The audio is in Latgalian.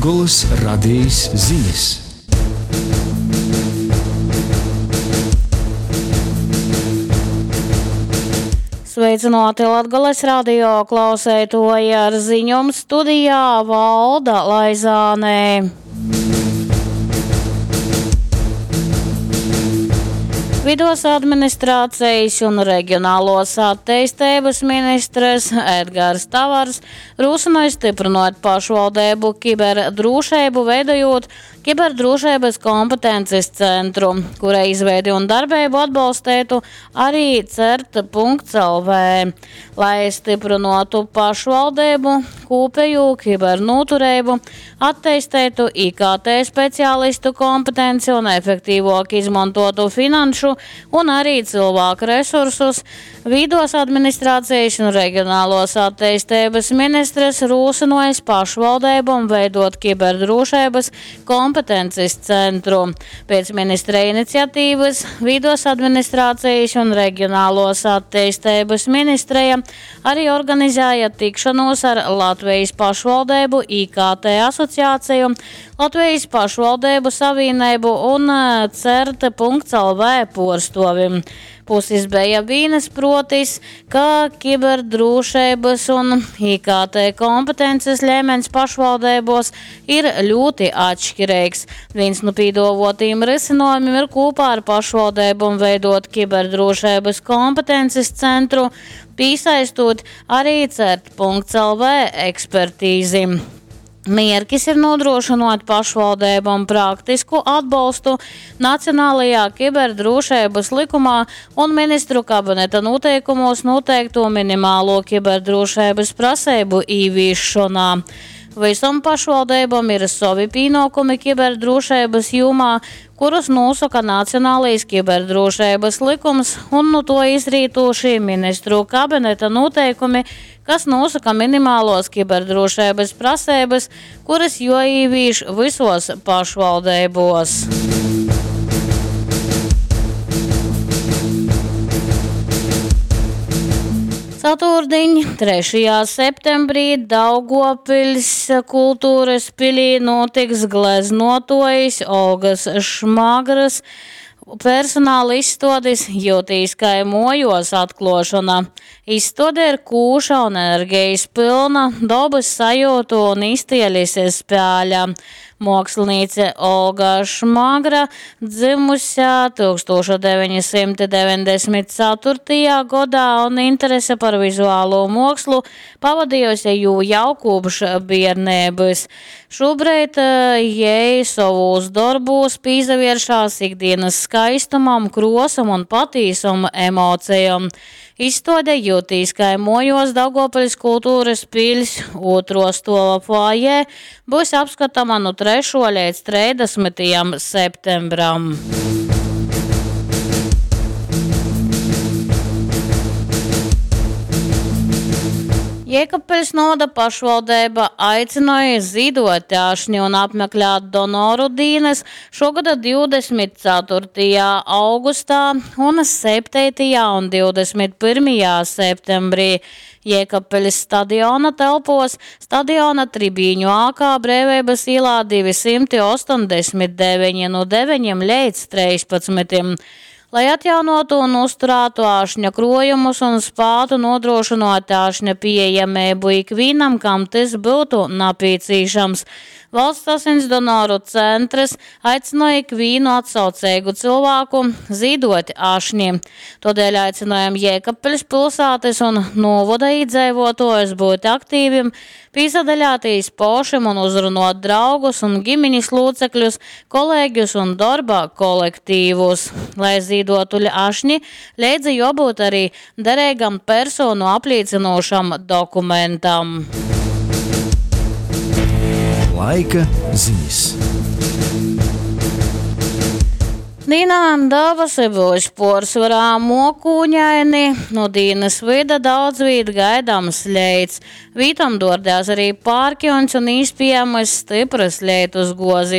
Latgolys Radejis zinis. Sveicināti Latgales radio klauseitoji ar ziņom studijā Valda Laizānē. Vidos administrācijas un regionālos atteisteibas ministrs Edgars Tavars rūsināja stiprinot pašvaldību kiberdrošību, veidojot kiberdrošības kompetences centru, kura izveidi un darbību atbalstētu arī cert.lv. Lai stiprinātu pašvaldību, kopējo kibernoturību, attīstītu IKT speciālistu kompetenci un efektīvāk izmantotu finanšu un arī cilvēku resursus, Vīdos administrācijas un regionālos attīstības ministrs rūsinojas pašvaldībām veidot kiberdrošības kompetences centru. Pēc ministra iniciatīvas Vīdos administrācijas un regionālos attīstības ministrija arī organizēja tikšanos ar Latvijas pašvaldību IKT asociāciju, Latvijas pašvaldību savienību un CERT.lv porstovim. Puses bija vīnas protis, ka kiberdrošības un IKT kompetences līmenis pašvaldībos ir ļoti atšķirīgs. Viens no pīdovotiem risinājumiem ir kopā ar pašvaldībām veidot kiberdrošības kompetences centru, piesaistot arī CERT.lv ekspertīzi. Mierkis ir nodrošinot pašvaldībām praktisku atbalstu Nacionālajā kiberdrošības likumā un ministru kabineta noteikumos noteikto minimālo kiberdrošības prasību īvīšanā. Visam pašvaldībām ir savi pienākumi kiberdrošības jomā, kurus nosaka Nacionālais kiberdrošības likums un no to izrītošie ministru kabineta noteikumi, kas nosaka minimālos kiberdrošības prasības, kuras joīvīš visos pašvaldībos. Ceturtdiņ, 3. septembrī Daugopils kultūras pilī notiks gleznotojas Olgas Šmagras personāla izstādes Jūtīs kai mojos atklošana. Izstāde ir kūša un enerģijas pilna, dabas sajūtu un iztielis spēļa. Mākslinieca Olga Šmagra dzimusi 1994. gadā un interese par vizuālo mākslu pavadījusi jū jau kopš bērnības. Šobrīd jai savos darbos pīzavieršās ikdienas skaistumam, krosam un patīsam emocijām. Izstāde jutīs kai mojos Daugavpils kultūras piļs otro stova foajē būs apskatama no 3. līdz 30. septembram. Jēkabpils novada pašvaldība aicināja zīdot ašņi un apmeklēt donoru dienas šogada 24. augustā un 7. un 21. septembrī. Jēkabpilis stadiona telpos, stadiona tribīņu ākā Brīvības ielā 289 no 9 līdz 13. Lai atjaunotu un uzturētu āšņa krojumus un spātu nodrošinot āšņa pieejamību ikvienam, kam tas būtu nepieciešams. Valsts asins donoru centrs aicināja ikvienu atsaucīgu cilvēku zīdot ašņi. Todēļ aicinājam Jēkabpils pilsētas un novada iedzīvotājus būt aktīviem, pīsadaļātīs pošim un uzrunot draugus un ģimenes locekļus, kolēģus un darba kolektīvus. Lai zīdotu ašņi, leidza jābūt arī derīgam personu apliecinošam dokumentam. Laika ziņas. Dīnā davasi būs porcelāna mokūņaini, no dīnas vida daudz vīt gaidāms leits. Vītam dordās arī pārkjons un īspējamas stipras leitus gozis.